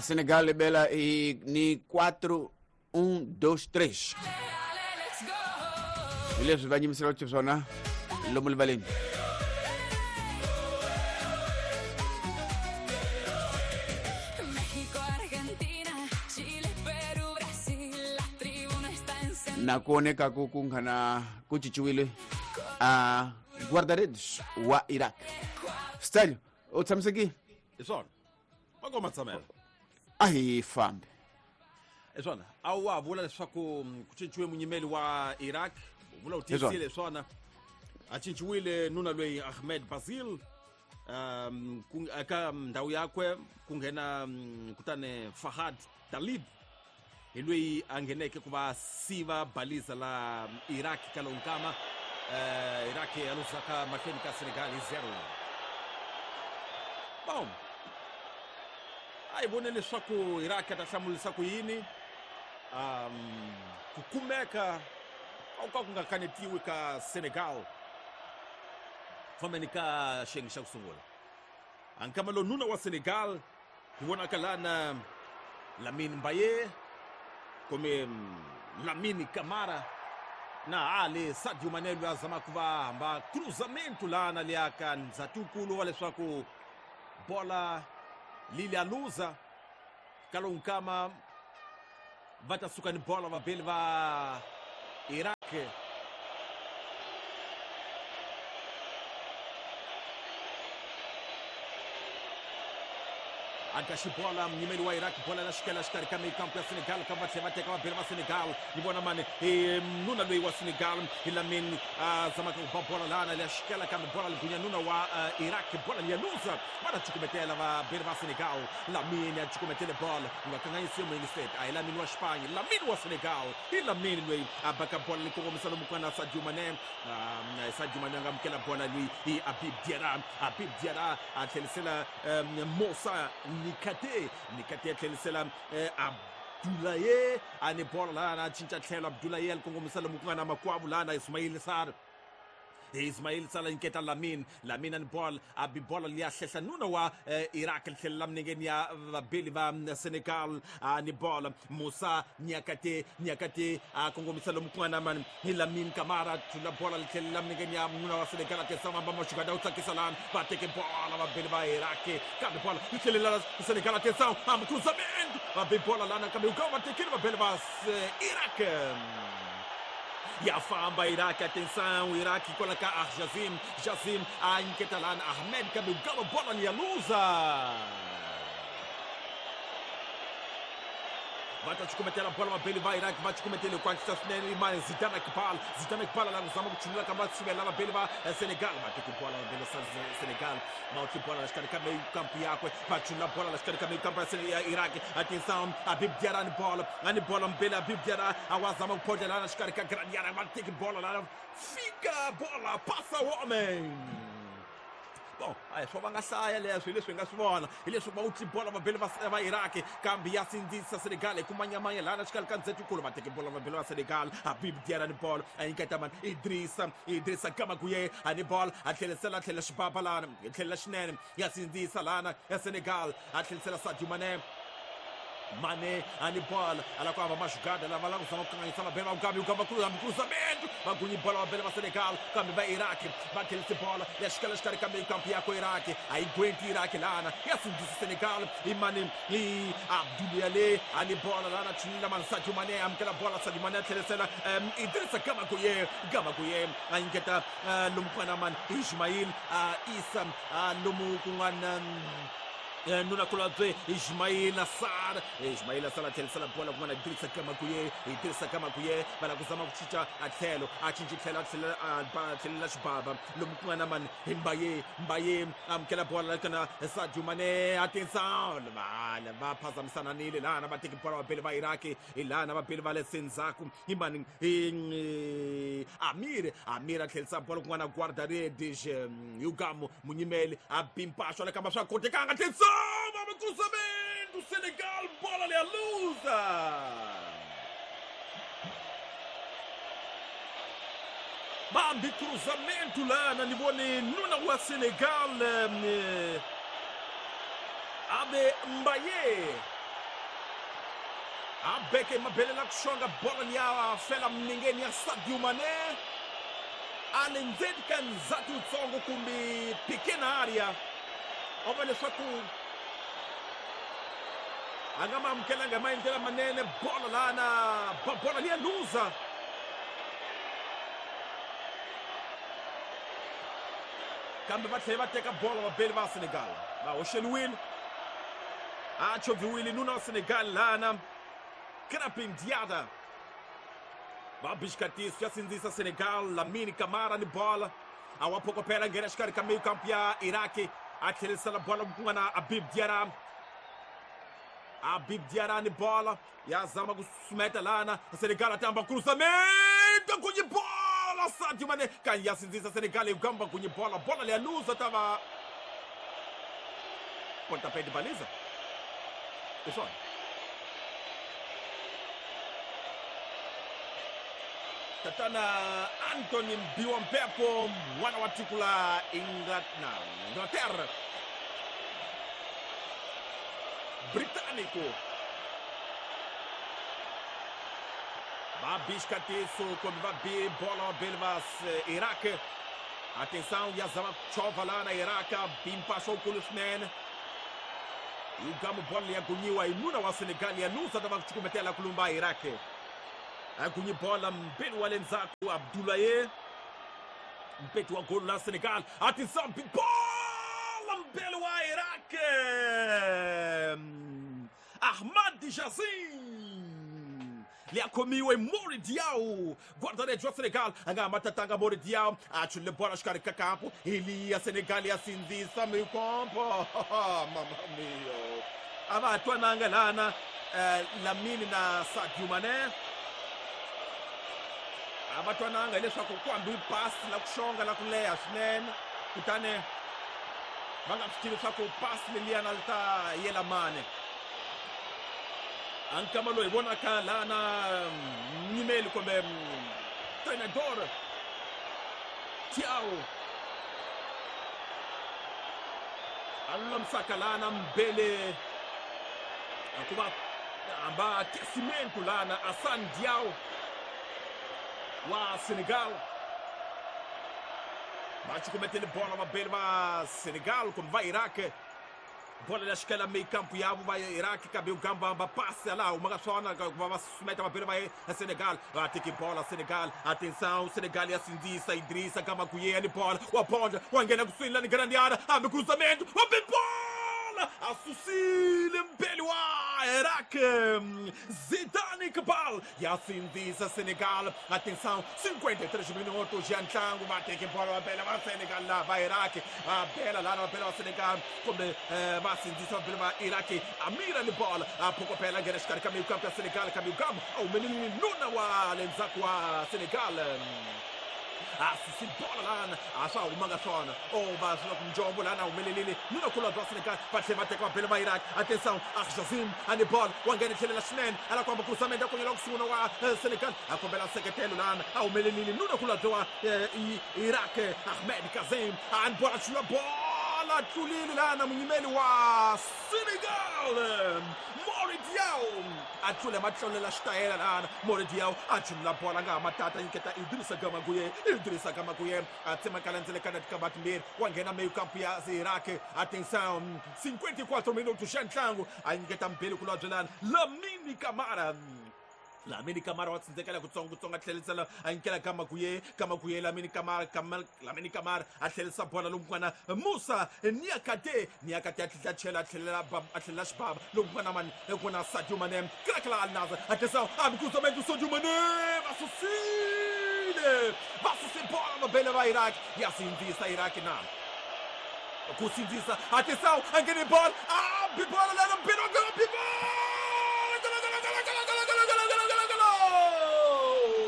A Senegal bela i ni 4 1 2 3. Hi leswi va nyimisela xiswona lomu rivaleni. Na ku oneka ku ku nghana ku cinciwile a guarda-redes wa Iraq. Stelio, u tshamisekile? Hi swona. Va koma tshamela. A hi fambi. Hi swona. A wa vula leswaku ku cinciwe munyimeli wa Iraq. U vula u tiyisile swona. A cinciwile nuna loyi Ahmed Basil. Eka ndhawu yakwe ku nghena kutani Fahad Talib hi loyi a ngheneke ku va siva baliza la Iraq ka lowu nkama. Iraq ya luzaka mahlweni ka Senegal hi 0. Bom, a hi vone leswaku Iraq a ta hlamulisa ku yini. Ku kumeka a ku ka ku nga kanetiwi ka Senegal fambeni ka xiyenge xa ku sungula. A nkama lowu nuna wa Senegal hi vonaka lana Lamine Mbaye kumbe Lamine Kamara na Ali Sadio Mane loyi a zamaka ku va hamba cruzamento lana liya ka ndzhatinkulu wa leswaku bola lili a luza ka lowu nkama va ta suka ni bola vabeli va Iraq. Aka xibola munyimeli wa Iraq bola la xikela xikarhi ka mikampu ya Senegal ka va tlhela va teka vabeli va Senegal. Ni vona mani hi nuna loyi wa Senegal hi Lamine a zamaka ku ba bola lana liya xikela kambe bola ligunya nuna wa Iraq bola liya luza va ta cukumetela vabeli va Senegal. Lamine a cukumetele bola nga kanganyisiwe muyingiseti a hi Lamine wa Xipanye, Lamine wa Senegal hi Lamine loyi a baka bola li kongomisa lomu ku nga na Sadio Mane. Sadio Mane a nga amukela bola loyi hi Habib Diarra. Habib Diarra a tlherisela Moussa Nikate. Nikate a tlherisela Abdoulaye a ni bola lana a cinca tlhelo. Abdoulaye a li kongomisa lomu ku nga na makwavo lana Ismail Sarr. Ismail Sarr nyiketa Lamine. Lamine a ni bola a bi bola liya hlehla nuna wa Iraq li tlhelela minengeni ya vabeli va Senegal. A ni bola Moussa Niakate. Niakate a kongomisa lomu ku nga na mani hi Lamine Kamara thula bola li tlhelela minengeni ya nuna wa Senegal. A tirhisa mamba maxugada u tsakisa lana va teke bola vabeli va Iraq kambe bola li tlhelela Senegal. A tirhisa hambi cruzamento va bi bola lana kambe u ka va tekile vabeli va Iraq. Ya famba Iraq, atenção, Iraq coloca Jazim, Jazim a nyiketa lana Ahmed kambe u bola li ya luza. Va ta cukumetela bola vabeli va Iraq va cukumetele ku antswisa swinene imani Zidane Iqbal. Zidane Iqbal la ku zama ku chunula kambe va tshivela vabeli va Senegal. Va teki bola vabeli va Senegal va utli bola la xikarhi ka kampu yakwe va chunula bola la xikarhi ka kampu ya Iraq. Atenção, Habib Diarra ni bola, a ni bola mbele Habib Diarra a wa zama ku phodlela la xikarhi ka gradiara va teki bola la fika bola passa o homem. Bom, a swo va nga hlaya leswi hi leswi hi nga swi vona hi leswi va utli bola vabeli va Iraq kambe ya sindzisa Senegal hi ku manyamanya lana xikarhi ka ndzhetikulu va teke bola vabeli va Senegal. Habib Diarra ni bola a nyiketa mani Idrissa, Idrissa Gamaguye a ni bola a tlherisela a tlhela xibaba lana hi tlhelela xinene ya sindzisa lana ya Senegal a tlherisela Sadio Mane. Mane a ni bola a la ku hava maxugada lava la ku zama ku kanganyisa vabeli va Mugabe Ugamba cruzamento va gunyi bola vabeli va Senegal kambe va Iraq va tlherisi bola ya xikela xikarhi ka kampu yakwe Iraq a yi gwenti Iraq lana ya sindzisa Senegal hi mani hi Abdoulaye a ni bola lana chunila mani Sadio Mane amukela bola Sadio Mane a tlherisela Idrissa Gamaguye. Gamaguye a nyiketa lomu ku nga na mani Ismail Issa lomu ku nga na nuna kulabye Ismail Sarr. Ismail Sarr a tlherisela bola ku nga na Idrissa Gamaguye. Idrissa Gamaguye va lava ku zama ku cinca a tlhelo a cinci tlhelo a tlhela a tlhelela xibaba lomu ku nga na mani hi Mbaye. Mbaye amukela bola kana Sadio Mane. Atenção, va phazamisananile lana va teki bola vabeli va Iraq hi lana vabeli va le sendzhaku hi mani hi Amir. Amir a tlherisa bola ku nga na guarda-redes Yugamo munyimeli a bimpaxo le kambe swa kotekanga. Atenção, cruzamento Senegal, bola ali a luza. Bambi cruzamento lana ni vone nuna wa Senegal Abe Mbaye A beke mabele la ku xonga bolo liya fela minengeni ya Sadio Mané. A le ndzeni ka ndzhati wutsongo kumbe pequena área. O va leswaku a nga ma amukelanga hi maendlelo manene bolo lana, bolo liya luza. Kambe va tlhela va teka bolo vabeli va Senegal. Va hoxeliwile. A chovhiwile nuna wa Senegal lana. Krapin Diada. Va bixikatiso ya sindzisa Senegal. Lamine Camara ni bola. A wa phokopela nghena xikarhi ka meio campo ya Iraki. A tlherisela bola ku nga na Habib Diarra. Habib Diarra ni bola. Ya zama ku susumeta lana. Senegal a tamba cruzamento kunye bola. Sadio Mané kan ya sindzisa Senegal yi gamba kunye bola. Bola leya luza tava pontapé de baliza. Pessoal. Tatana Anthony Mbiwa-Mpepo mwana wa tiko la Inglaterra. Britânico. Va biscatiço quando va bi bola belvas Iraque. Atenção, Yazama chova lá na Iraque, bimpassou o Kulusnen. E o gamo bola yagunyiwa inuna wa Senegal ya nusa tava kuchukumetela kulumba Iraque. Agunyi bola mbele wa lenzaku Abdoulaye. Mpetu wa gol la Senegal. Atenção, bola mbele wa Iraque. Ahmad Jazim. Liakomiwe Mori Diaw, guarda-redes wa Senegal, anga matatanga Mori Diaw, achule bola xikarhi ka kampo, ili ya Senegal ya sindzisa meio campo. Mamma mia. A va twananga lana Lamine na Sadio Mané. A va twananga hileswaku ku hambi pasi la ku xonga la ku leha swinene, kutani va nga swi tivi leswaku pasi leliyana li ta yela mani. Ankama loyi vonaka lana nyimeli kumbe treinador Thiaw a lulamisaka lana mbele hikuva hamba aquecimento lana Assane Diaw wa Senegal. Va cukumetele bola vabeli va Senegal kumbe va Iraq. Bola la xikela meio campo yavo va Iraq kabe ugamba ba passe lá uma sona va susumeta vabeli va Senegal. Va teki bola Senegal. Atenção, Senegal ya sindzisa Idrissa Gamaguye ni bola wa ponda wa nghena kusuhi la ni grande área, abre cruzamento, abre bola asusile mbele wa Iraq. Zidane Iqbal ya sindzisa Senegal. Atenção, 53 minutos já ntlangu va teki bola va bela va Senegal la va Iraq. Va bela la va bela va Senegal kumbe va sindzisa va bela va Iraq. Amira ni bola a phokopela nghena xikarhi ka meio campo ya Senegal kabe ugamba a humelelile nuna wa lendzhaku wa Senegal. Asusi bola lana a swa humanga swona o va swi ku njombo lana humelelile nuna kulobye wa Senegal va tlhela va teka va bela va Iraq. Atenção, Arjazim ani bola wa nghena tlhelela swinene ala ku hamba cruzamento ya konyela ku sungula wa Senegal a kombela nseketelo lana a humelelile nuna kulobye wa Iraq. Ahmed Kazem ani bola chula bola tlulile lana munyimeli wa Senegal Mori Diaw a tlule matlolela xitayela lana Mori Diaw a chulula bola nga matata nyiketa Idrissa Gamaguye. Idrissa Gamaguye a tsemakala ndzelekana tikamba timbirhi wa nghena meio campo ya Iraq. Atenção, 54 minutos xa ntlangu a nyiketa mbili kulobye lana Lamine Camara. Lamine Camara wa tsindzekela kutsongo a tlhelisela a nyikela Gamaguye. Gamaguye Lamine Camara, Lamine Camara a tlhelisa bola lomu ku nga na Musa Niakate. Niakate a tlhela chela a tlhelela a tlhelela xibaba lomu ku nga na mani ku na Sadio Mané. Krakla Al Nassr. Atenção, abre cruzamento Sadio Mané, va susile. Va susile bola no bela va Iraq. E assim sindzisa Iraq na. Ku sindzisa. Atenção, a nghene bola. Abre bola lá no bela, bola.